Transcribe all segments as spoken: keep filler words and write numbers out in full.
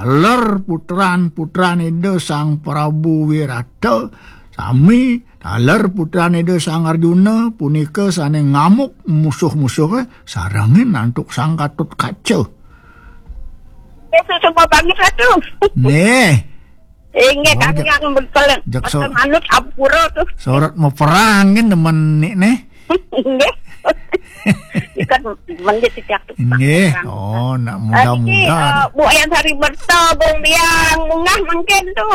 Taler putran-putran Ida Sang Prabu Wirata, sami taler putran Ida Sang Arjuna punika sane ngamuk musuh-musuhe, sarengin antuk Sang Gatotkaca. Itu semua banget satu. Nggih. Inggih, oh, kami jak-, yang betul. Jak so-, betul manut ampura tuh. Sorot mau perang kan teman nih, nih. Nggih. Ikan mendit sejak tu. Nggih. Oh, nak muda-muda. Eh, Bu Ayang Sari Berta, Bung Biang, Mungah mungkin tu.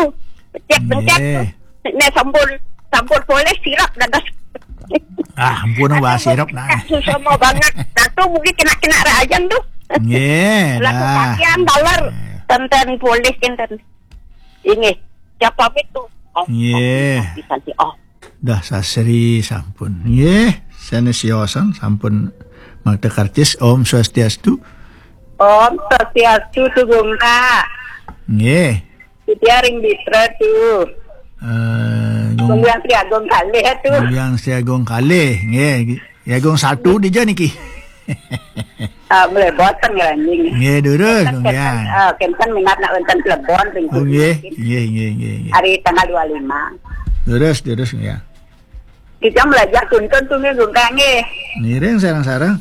Cek pencet tu. Nggih. Nek sampun, sampun boleh sirap dadas. Ah, ampun, wah, sirap nah. Susah mau banget. Nah, tu mungkin kena-kena rajan tu. Nggih, laku dah. Pakaian taler. Tenten boleh, tenten. Ini, siapa itu? Oh, nggih. Bisa sih. Oh. Dah sasri sampun. Nggih, sanes siosan sampun makta karcis. Om Swastiastu. Om Swastiastu, Tugung Kak. Nggih. Setia ring Bitra tu. Eh, Gung Gung Hyang Sri Agung kalih tu. Gung Hyang Sri Agung kalih. Nggih, Sri Agung satu dija niki. Ah, mulai boten ya, anjing. Nggih, durus, Gung Hyang. Ah, kenten minat nak wonten Plebon ring. Oh, nggih, nggih, nggih, nggih, nggih. Hari tanggal dua lima. Durus, durus, Gung Hyang. Kita belajar tuntun tu nggih, Gung Kang, nggih. Ngiring sareng-sareng.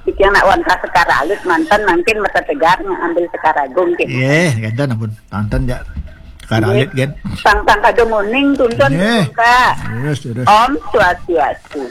Kita nak wonten Sekar Alit manten mungkin mata tegar ngambil Sekar Agung gitu. Nggih, kenten ampun. Tanten ya. Sekar Alit, nggih. Sang-sang kadung uning tuntun, nggih, Gung Kang. Durus, durus. Om Swastiastu.